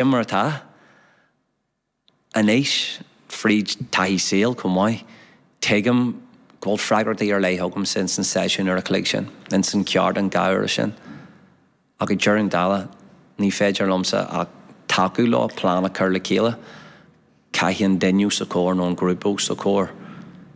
Sin mar atá. Anois, fríd taithí saoil chomh maith, tuigim go bhfuil freagrachtaí ar leith agamsa ins an seisiún uair a chloig sin, ins an cheardlann 2 uaire sin. Ach ag deireadh an dála, ní féidir liomsa ach tacú leo plean a chur le chéile. Caithfidh an duine os a chomhair nó an grúpa os a chomhair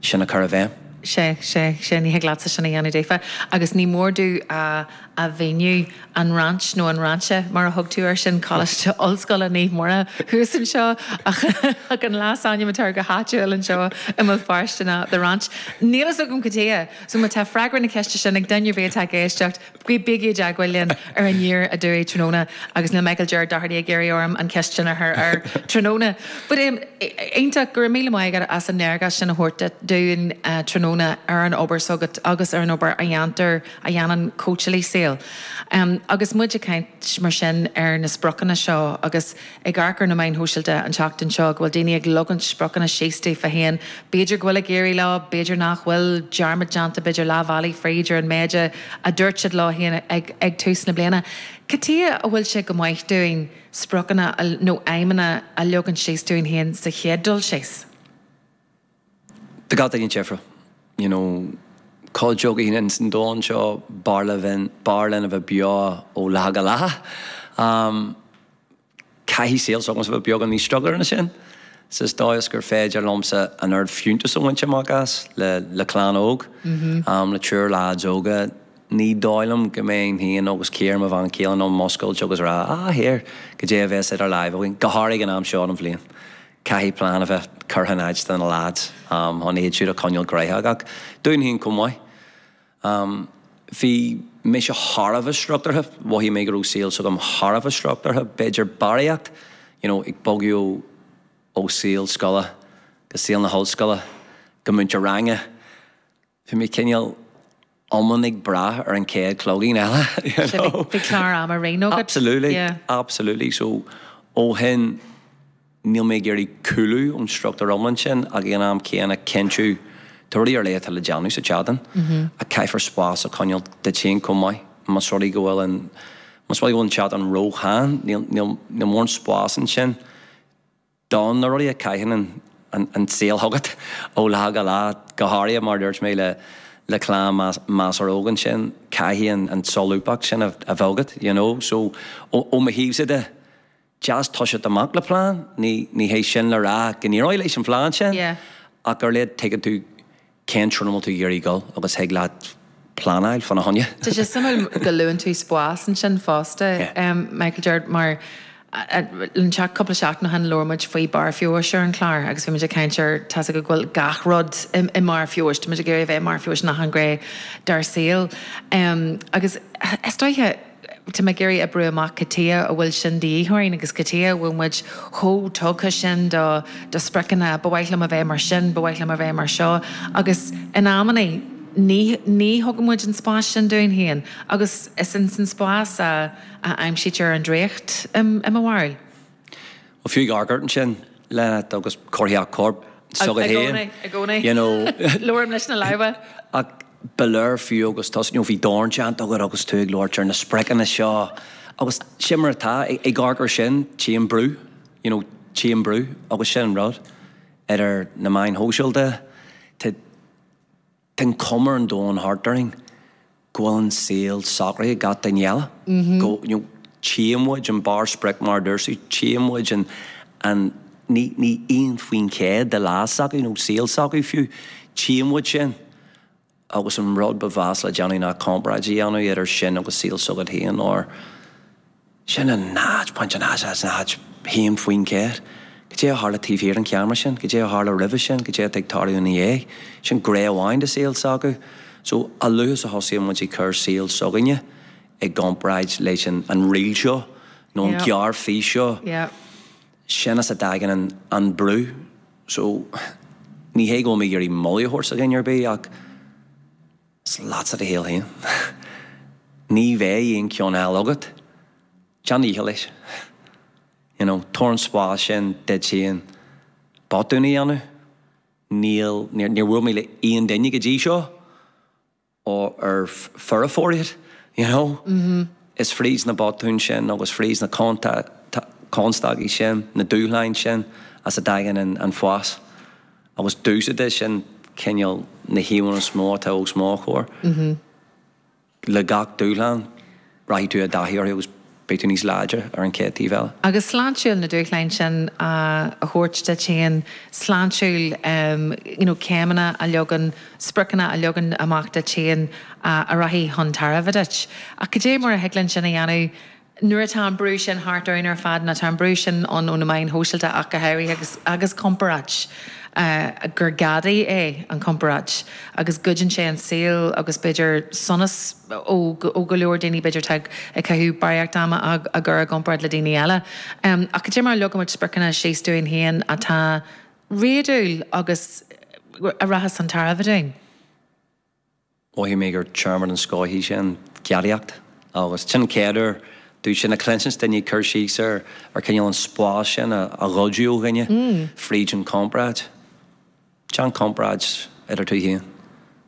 sin a chur i bhfeidhm. Sea, sea, sea, ní thig leatsa sin a dhéanamh daofa. Agus ní mór domh a a mhíniú, an Ranch nó an Rainse mar a thug tú air sin, Coláiste Ollscoile Naomh Muire thuas anseo, ach ach an leasainm atá air go háitiúil anseo i mBéal Feirste ná The Ranch. Níl fhios agam cad chuige, so má tá freagra na ceiste sin ag duine ar bith atá ag éisteacht, Bígí i dteagmháil linn ar Aniar Aduaidh tráthnóna agus níl Michael Gerard Doherty ag iarraidh orm an cheist sin a chur air tráthnóna. But iontach, go raibh míle maith agat as an léargas sin a thabhairt dúinn tráthnóna ar an obair s'agat agus ar an obair a dhéantar, a dhéanann cóitseálaí saoil. Agus muid ag caint mar sin ar na spriocanna seo agus ag amharc ar na meáin shóisialta an tseachtain seo go bhfuil daoine ag leagaint spriocanna síos daofa féin, b'fhéidir go bhfuil ag éirí leo, b'fhéidir nach bhfuil, dearmad déanta b'fhéidir leath bhealaigh fríd ar an méid a dúirt siad leo féin ag tús na bliana. Cad chuige a bhfuil sé go maith dúinn spriocanna nó aidhmeanna a leagan síos dúinn féin sa chéad dul síos? Tá gach duine difriúil, you know, cuid againn ins an domhan seo, b'fhearr linn, b'fhearr linn a bheith beo ó lá go lá. Caithfidh saol s'agamsa bheith beagán níos struchtúrtha ná sin. Sa dóigh is gur féidir liomsa an oiread fiúntas a bhaint amach as le le clann óg, le triúr lads óga. Ní dóigh liom go mbeinn féin agus Ciara, mo bhean chéile, in ann muscailt agus a rá, ah here, cad é a bheas idir láimh againn, go háirithe ag an am seo den bhliain. Caithfidh plean a bheith curtha in áit do na lads chun iad siúd a choinneáil gnoitheach ach dúinn féin chomh maith. Bhí mise thar a bheith struchtúrtha, mhothaigh mé go raibh saol s'agam thar a bheith struchtúrtha, b'fhéidir barraíocht, you know, ag bogadh ó saol scoile go saol na hollscoile go múinteoir ranga. Bhí mé cineál iomann ag brath ar an chéad chloigín eile, you know. Bhí clár ama righin agat. Absolutely, absolutely. So ó shin níl mé ag iarraidh cúlú ón struchtúr iomlán sin ach ag an am céanna cinntiú tá rudaí ar leith atá le déanamh sa tseachtain ach caithfear spás a choinneáil duit féin chomh maith. Más rud é go bhfuil an, más rud é go bhfuil an tseachtain ró-theann, níl, níl, níl mórán spás ansin. Do na rudaí a chaitheann an saol chugat ó lá go lá, go háirithe mar a dúirt mé le clann measartha óg ansin, caithfidh an tsolúbthacht sin a bheith agat, you know. So ó mo thaobhsa de, deas toiseacht amach le plean, ní hé sin le rá go n-éireoidh leis an phlean sin, ach ar a laghad tuigeann tú cén treo ina bhfuil tú ag iarraidh dul agus thig leat pleanáil fána choinne. Tá sé suimiúil go luann tú spás ansin fosta, Michael Gerard, mar an cúpla seachtain ó shin labhair muid faoi barr feabhais ar an chlár agus bhí muid ag caint ar tá's agat go bhfuil gach rud i mbarr feabhais, tá muid ag iarraidh a bheith i mbarr feabhais in achan ghné dár saol. Agus is dóiche, Tá mé ag iarraidh a oibriú amach cad chuige a bhfuil sin de dhíth orainn agus cad chuige a bhfuil muid chomh tugtha sin do do spriocanna, ba mhaith liom a bheith mar sin, ba mhaith liom a bheith mar seo agus in amannaí ní ní thugann muid an spás sin dúinn féin agus is ins an spás a a aimsítear an draíocht i mo bharúil. Bhuel, fiú ag amharc ort ansin, Lynette, agus comharthaíocht coirp s'agat féin. I gcónaí, i gcónaí. You know. Labhraím leis na lámha. Ach ba léir fiú agus tusa, you know, bhí dorn déanta agat agus tú ag labhairt ar na spriocanna seo agus sin mar atá, ag amharc ar sin, tchím brú, you know, tchím brú agus sin an rud, idir na meáin shóisialta, tá, Tá an chuma ar an domhan thart orainn go bhfuil an saol socraithe ag gach duine eile. Go, you know, tchíonn muid an barr sprioc mar a dúirt tú, tchíonn muid an, an, ní, ní 1% de lá s'acu nó saol s'acu fiú, tchíonn muid sin agus an rud ba mheasa le déanamh ná comparáid a dhéanamh idir sin agus saol s'agat féin or, Sin an 0.001%. Cad é a tharla taobh thiar den cheamara sin? Cad é a tharla roimhe sin? Cad é atá ag tarlú ina dhiaidh? Sin gné amháin de saol s'acu. So, a luaithe is a thosaíonn muid ag cur saol s'againne i gcomparáid leis an reel seo nó an gearrfhís seo, sin as a dtagann an brú. So, ní hé go bhfuil mé ag iarraidh moladh a thabhairt do dhuine ar bith ach, Is leatsa do shaol féin. Ní bheidh aon cheann eile agat. Déan do dhícheall leis. You know, tabhair an spás sin duit féin botún a dhéanamh. Níl, níor, níor bhuail mé le aon duine go dtí seo ar foirfeoir iad, you know. Is fríd na botúin sin agus fríd na. constaicí sin, na dúshláin sin as a dtagann an fás. Agus domhsa de, sin cineál na híomhánna is mó atá os mo chomhair. Le gach dúshlán, rachaidh tú i dtaithí orthu agus beidh tú níos láidre ar an chéad taobh eile. Agus sláintiúil na dúshláin sin a thabhairt duit féin, sláintiúil you know céimeanna a leagan, spriocanna a leagan amach duit féin a rachaidh chun tairbhe duit. Ach cad é mar a thig linn sin a dhéanamh Nuair atá an brú sin thart orainn ar fad, nuair atá an brú sin ann ó na meáin shóisialta ach go háirithe agus agus comparáid, gur gadaí é an chomparáid agus goideann sé an saol agus b'fhéidir sonas ó ó go leor daoine b'fhéidir atá ag caitheamh barraíocht ama á gcur i gcomparáid le daoine eile. Ach cad é mar a leagaimid spriocanna síos dúinn féin atá réadúil agus a rachas chun tairbhe dúinn? Mhothaigh mé gur téarma den scoth í sin, gadaíocht, agus sin an chéad uair domh sin a chluinsint, duine ag cur síos ar ar cineál an spás sin a ghoideadh ó dhuine fríd an chomparáid. Déan comparáid idir tú féin,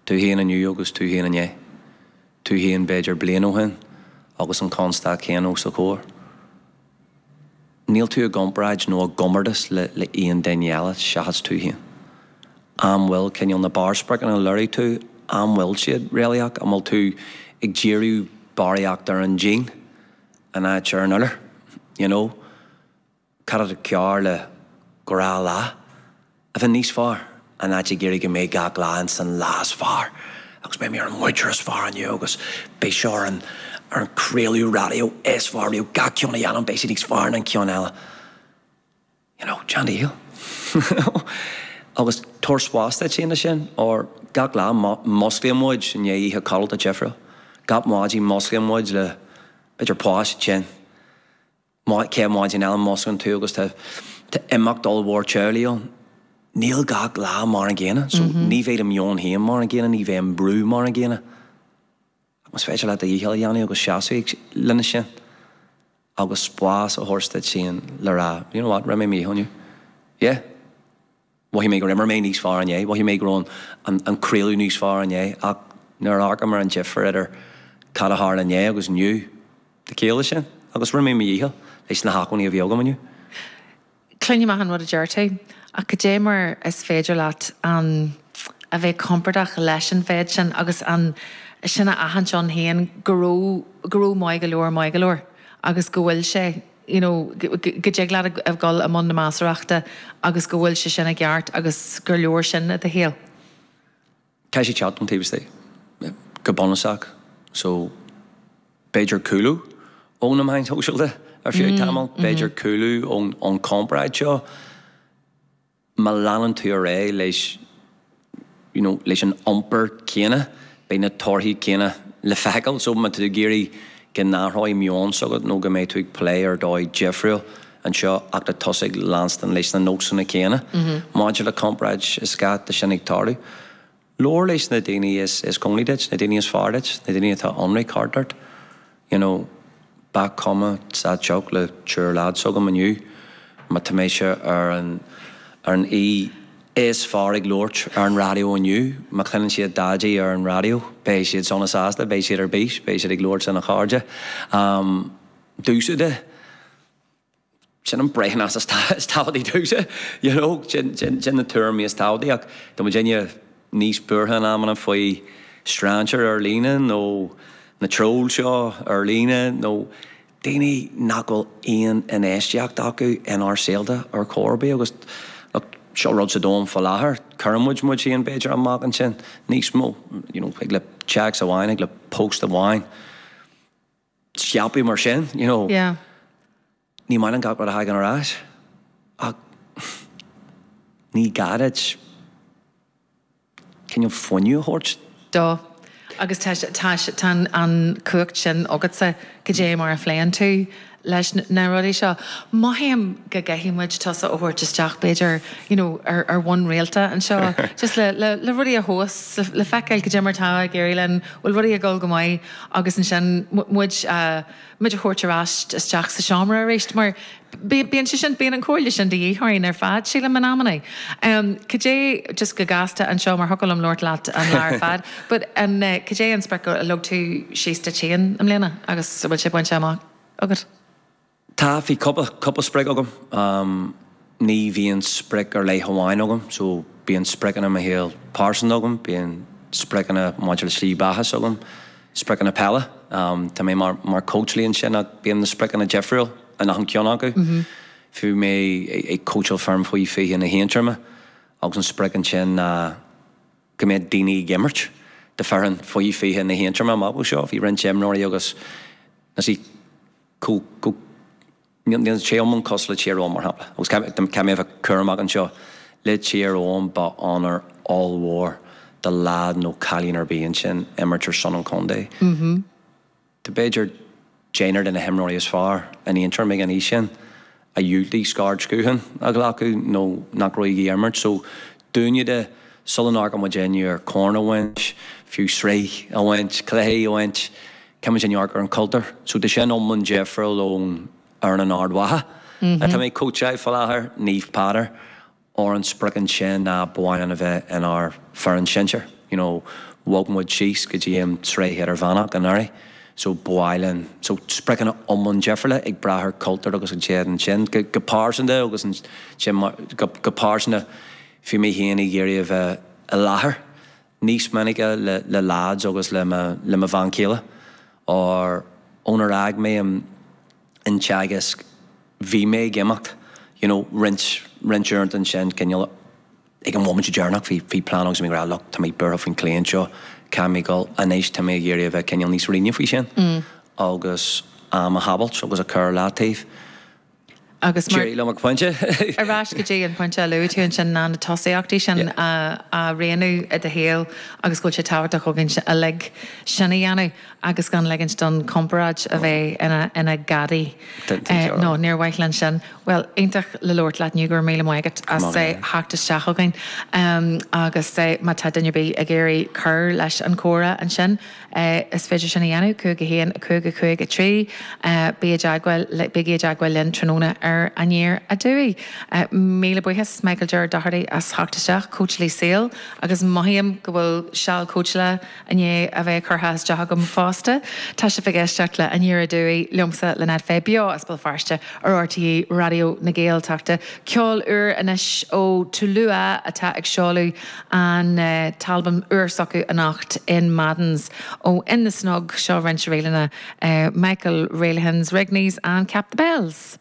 tú féin inniu agus tú féin inné, tú féin b'fhéidir bliain ó shin agus an constaic chéanna os do chomhair. Níl tú i gcomparáid nó i gcomórtas le aon duine eile seachas tú féin. An bhfuil cineál na barrspriocanna a lorg tú, an bhfuil siad réalaíoch? An bhfuil tú ag díriú barraíocht ar an díon in áit ar an iolar? You know? Cad atá cearr le gnáthlá? A bheith níos fearr, in áit ag iarraidh go mbeidh gach lá ins an lá is fearr agus beidh mé ar an mhúinteoir is fearr inniu agus beidh seo ar an ar an craoladh raidió is fearr riamh, gach ceann a dhéanaim beidh sé níos fearr ná an ceann eile. You know, déan do dhícheall. Agus tabhair spás duit féin leis sin, or gach lá musclaíonn muid i ndiaidh oíche codlata difriúil. Gach maidin musclaíonn muid le b'fhéidir páiste tinn. Chéad mhaidin eile músclaíonn tú agus tá imeacht ollmhór teaghlaigh ann. Níl gach lá mar an gcéanna so ní bheidh do mheon féin mar an gcéanna, ní bheidh an brú mar an gcéanna. Ach más féidir leat do dhícheall a dhéanamh agus seasamh lena sin agus spás a thabhairt duit féin le rá, you know what, rinne mé mo dhícheall inniu. Yeah. Mhothaigh mé gur imir mé níos fearr inné, mhothaigh mé go raibh an craoladh níos fearr inné ach nuair a amharcaim ar an difear idir cad a tharla inné agus inniu, tá ciall leis sin agus rinne mé mo dhícheall leis na hacmhainní a bhí agam inniu. Cluinim achan rud a deir tú ach cad é mar is féidir leat an a bheith compordach leis an mhéid sin agus an sin a aithint ann féin go raibh go raibh maith go leor maith go leor agus go bhfuil sé you know, go dtig leat a dhul i mbun na measarthachta agus go bhfuil sé sin i gceart agus gur leor sin i do shaol. Caithfidh sé teacht ón taobh istigh, go bunúsach. So, b'fhéidir cúlú ó na meáin shóisialta ar feadh tamaill, b'fhéidir cúlú ón chomparáid seo. Má leanann tú ar aghaidh leis you know leis an iompar céanna, beidh na torthaí céanna le feiceáil. So má tá tú ag iarraidh go n-athróidh meon s'agat nó go mbeidh tú ag plé ar dóigh difriúil anseo ach tá tusa ag leanstan leis na nósanna céanna maidir le comparáid is gá, tá sin ag tarlú. Labhair leis na daoine is cóngaraí duit, na daoine is fearr duit, na daoine atá ionraic thart ort. You know, ba chuma sa tsioc le triúr leads agam inniu má tá mise ar an ar an aoi is fearr ag labhairt ar an raidió inniu, má chluineann siad Daidí ar an raidió, beidh siad sona sásta, beidh siad ar bís, beidh siad ag labhairt lena chairde. Um, domhsa de. Sin an breithiúnas is tábhachtaí domhsa, you know, sin na tuairimí is tábhachtaí ach tá muidinne níos buartha in amanna faoi strainséir ar líne nó na troill seo ar líne nó daoine nach bhfuil aon infheistíocht acu inár saolta ar chor ar bith agus look, seo rud sa domhan faoi láthair, cuireann muid muid féin b'fhéidir amach ansin níos mó, you know, thig le téacs amháin, thig le post amháin. scaipeadh mar sin, you know. Yeah. Ní maith linn gach rud a thagann ar ais ach ní gá duit cineál fuinneamh a thabhairt. dó. Agus tá, tá, tá an chumhacht sin agatsa cad é mar a phléann tú leis na rudaí seo. Mothaím go gcaithfidh muid tusa a thabhairt isteach b'fhéidir, you know, ar, ar bhonn rialta anseo just le, le, le rudaí a thomhas, le, le feiceáil cad é mar atá ag éirí linn, bhfuil rudaí ag dul go maith agus ansin muid a muid a thabhairt ar ais isteach sa seomra arís mar bíonn sé sin, bíonn an chomhairle sin de dhíth orainn ar fad, sílim, in amanna. Cad é, just go gasta anseo mar thiocfadh liom labhairt leat an lá ar fad, but an, cad é an sprioc a leag tú síos duit féin i mbliana agus an bhfuil sé bainte amach agat? Tá, bhí cúpla, cúpla sprioc agam. Ní bhíonn sprioc ar leith amháin agam, so bíonn spriocanna i mo shaol pearsanta agam, bíonn spriocanna maidir le slí beatha s'agam, spriocanna peile. Tá mé mar, mar cóitseálaí ansin ach bíonn na spriocanna difriúil in achan ceann acu. Bhí mé ag cóitseáil foireann faoi 20 na hAontroime agus an sprioc ansin ná go mbeadh daoine ag imirt do foireann faoi 20 na hAontroime amach ó seo. Bhí roinnt imreoirí agus na go, go, níl sé iomlán cosúil le Tír Eoghain mar shampla, agus caithfidh mé a bheith cúramach anseo, le Tír Eoghain ba onóir ollmhór do leaid nó cailín ar bith ansin imirt ar son an chontae. Tá b'fhéidir deichniúr de na himreoirí is fearr in Aontroim ag an aois sin a dhiúltaigh scairdsciathán a ghlacadh nó nach raibh ag imirt. So dúinne de, sula n-amharcann muid inniu ar corn a bhaint, fiú sraith a bhaint, cluichí a bhaint, caithfidh muid amharc ar an chultúr. So tá sin iomlán difriúil ón fhoireann in Ard Mhacha atá mé ag cóitseáil faoi láthair, Naomh Peadar, Óir an sprioc ansin ná ba mhaith linn a bheith inár bhfoireann sinsir. You know, bhog muid síos go dtí an tsraith idirmheánach anuraidh so ba mhaith linn, so spriocanna iomlán difriúla ag brath ar cultúr agus an téad ansin. Go, go pearsanta agus ansin mar, go, go pearsanta bhí mé féin ag iarraidh a bheith i láthair níos minice le, le lads agus le mo, le mo bhean chéile. Óir ónar fhág mé an, an Teagasc bhí mé ag imeacht you know roinnt, roinnt uaireanta ansin cineál ag an bhomaite deireanach bhí, bhí plean agus bhí mé ag rá look tá mé buartha faoin client seo caithfidh mé dul anois tá mé ag iarraidh a bheith cineál níos righne faoi sin agus am a shábháilt agus a chur ar leataobh. Agus mar. D'éirigh liom ag pointe. Ar ais go dtí an pointe a luaigh tú ansin ná na tosaíochtaí sin a rianú i do shaol agus go bhfuil sé tábhachtach againn uilig sin a dhéanamh agus gan ligint don chomparáid a bheith ina gadaí. Nó níor mhaith linn sin. Bhuel, iontach le labhairt leat inniu, go raibh míle maith agat as theacht isteach chugainn. Agus má tá duine ar bith ag iarraidh cur leis an chomhrá ansin, Is féidir sin a dhéanamh, 5 1 5 5 3. Bí i dteagmháil, bígí i dteagmháil linn tráthnóna ar Aniar Aduaidh. Míle buíochas Michael Gerard Doherty as theacht isteach, cóitseálaí saoil, agus mothaím go bhfuil seal cóitseála i ndiaidh a bheith curtha isteach agam fosta. Tá sibh ag éisteacht le Aniar Aduaidh liomsa, Lynette Fay, beo as Béal Feirste ar RTÉ Raidió na Gaeltachta. Ceol úr anois ó Tulua atá ag seoladh an t-albam úr s'acu anocht in Madden's ó In the Snug, seo roinnt ríleanna Michael Reilly's Rigney's and Cap the Bells.